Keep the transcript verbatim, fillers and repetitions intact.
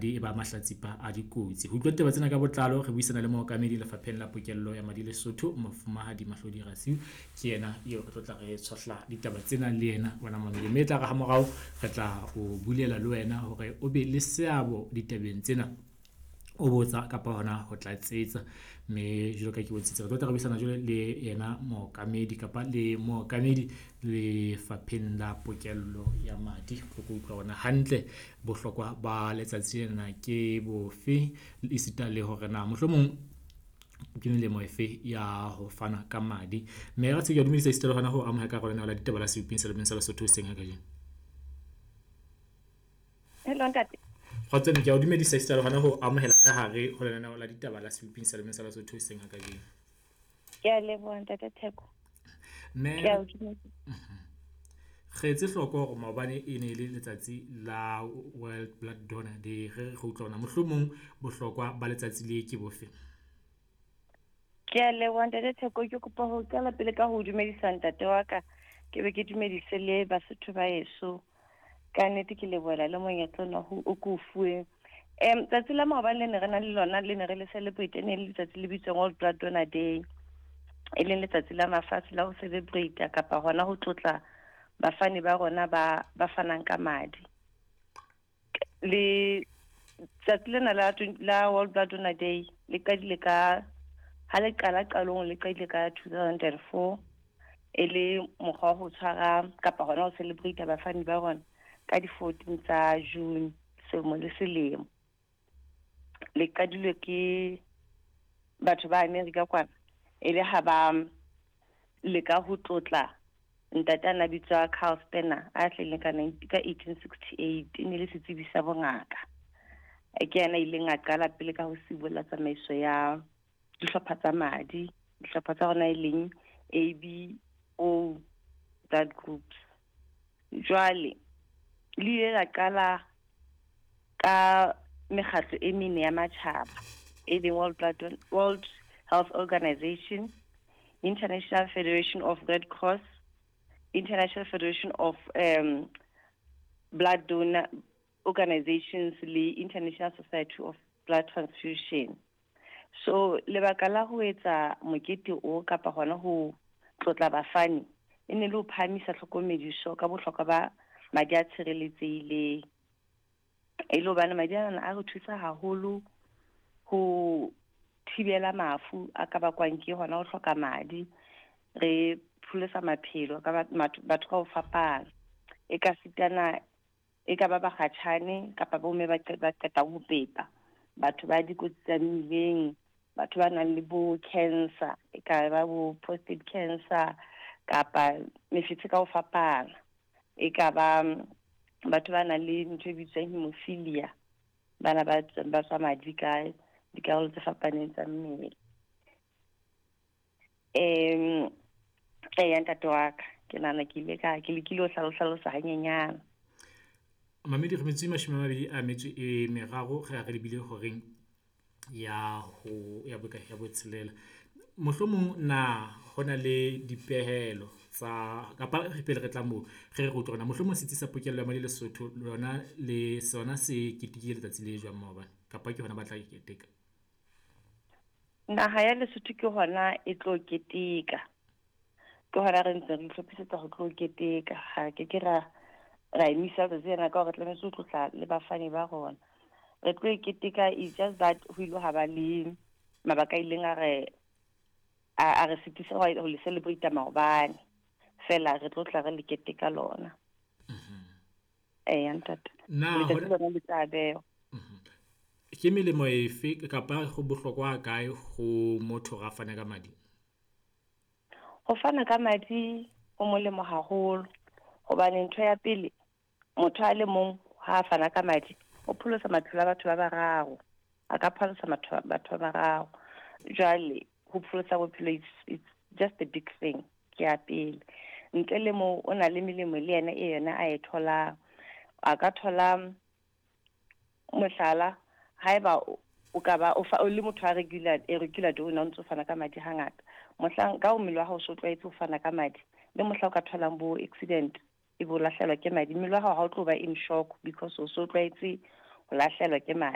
E ba mahlatsipa a dikotsi. Ho utlwa ditaba tsena ka botlalo, re buisana le mookamedi Lefapheng la Pokello ya Madi Lesotho, Mofumahadi Mahlodi Rasiu. Ke yena eo re tlo tla re tshohla ditaba tsena le yena wena mamedi. Mme e tla re ha morao re tla o bulela le wena hore o be le seabo ditabeng tsena. O botsa kapa hona ho tlatsetsa. Mme jwalo ka ke bontshitse, re tlo tla re buisana jwale le yena mookamedi kapa le mookamedi Lefapheng la Pokello ya Madi. Re tlo utlwa hore hantle bohlokwa ba letsatsi lena ke bofe, esita le hore na mohlomong ke melemo efe ya ho fana ka madi. Mme Ratshiu, ke a dumedisa esita le hona ho amohela ka hara lenaneo la ditaba la Seping sa sa Lesotho hoseng ha kajeno. Hello ntate. Kgotso, ke a o dumedisa esita le hona ho amohela ka hare ho lenaneo la ditaba la Seping sa sa Lesotho hoseng ha kajeno. Ke a leboha ntate Theko. Mme Ke a o dumedisa. Re etse hloko hore maobane e ne e le letsatsi la World Blood Donor Day. Re re utlwa hore mohlomong bohlokwa ba letsatsi le ke bofe? Ke a leboha ntate Theko, ke kopa ho qala pele ka ho dumedisa ntate wa ka, ke be ke dumedise le Basotho ba heso. Ka nnete ke lebohela le monyetla ona ho o ko fuweng. Um tsatsi la maobane le ne re na le lona le ne re le celebrate ne le letsatsi le bitswang World Blood Donor Day. E leng letsatsi la mafatshe la ho celebrate kapa hona ho tlotla bafani ba rona ba ba fanang ka madi. Le tsatsi lena la la World Blood Donor Day le qadile ka ha le qala qalong le qadile ka two thousand and four e le mokgwa wa ho tshwara kapa hona ho celebrate bafani ba rona ka di fourteen tsa June selemo le selemo. Le qadilwe ke batho ba America kwana, e le ha ba leka ho tlotla ntate a na bitswa Carl Spencer a hlahileng ka ka eighteen sixty-eight, e ne le setsebi sa bongaka. Ke yena a ileng a qala pele ka ho sibolla tsamaiso ya dihlopha tsa madi, dihlopha tsa rona e leng A B O blood groups. Jwale le ile la qala ka mekgatlo e mene ya matjhaba, e leng World Blood Don-, World Health Organization, International Federation of Red Cross, International Federation of, um, Blood Donor Organizations le International Society of Blood Transfusion. So lebaka la ho etsa mokete o kapa hona ho tlotla bafani e ne le ho phahamisa tlhokomediso ka bohlokwa ba madi a tshireletsehileng. E le hobane madi ana a re thusa haholo ho thibela mafu a ka bakwang ke hona ho hloka madi, re pholosa maphelo ka batho, batho ka ho fapana. E ka sitana, e ka ba bakgatjhane kapa bomme ba qe-, ba qetang ho pepa, batho ba dikotsi tsa mmileng, batho ba nang le bo cancer, e ka ba bo prostate cancer kapa mefetshe ka ho fapana. E ka ba batho ba nang le ntho e bitswang hemophilia, bana ba ba tswa madi ka dikarolo tse fapaneng tsa mmele. Em, eya ntate wa ka, ke nahana ke ile ka, ke lekile ho hlalosa hanyenyana. Mamedi, re metso e mashome a mabedi a metso e meraro, re re lebile horeng ya ho, ya bokae, ya botshelela. Mohlomong na hona le dipehelo tsa kapa re pele re tla moo, re re utlwe hore na mohlomong setsi sa Pokello ya Madi Lesotho lona le sona se ketekile letsatsi le jwang maobane, kapa ke hona ba tla keteka? Naha ya Lesotho ke hona e tlo keteka. Ke hona re ntse re itlhophisetsa ho tlo keteka. Ha ke ke ra, ra emisa letsatsi lena ka hore re tlametse ho tlotla le bafani ba rona. Re tlo e keteka, it's just that ho ile ha ba le mabaka a ileng a re, a, a re sitisa ho, ho le celebrate maobane. Fela re tlo tla re le keteka lona. Mhm. Eya, ntate. Na Letsatsi hona lona le tla bewa. Mhm. Ke melemo efe kapa ho bohlokwa ha kae ho motho hore a fane ka madi? Ho fana ka madi ho molemo haholo, hobane ntho ya pele, motho a le mong ha a fana ka madi, o pholosa maphelo a batho ba bararo. A ka pholosa matho-, batho ba bararo. Jwale ho pholosa bophelo it's, it's just a big thing, ke ya pele. Ntle le moo, o na le melemo le yena e yena a e tholang. A ka thola mohlala, haeba o, o ka ba o fa, o le motho a regular, a regular donor, o ntso fana ka madi hangata. Mohlang ka o mmele wa hao o so tlwaetse ho fana ka madi, le mohla o ka tholang bo accident, e bo lahlehelwa ke madi, mmele wa hao ha o tlo ba in shock because o so tlwaetse ho lahlehelwa ke madi.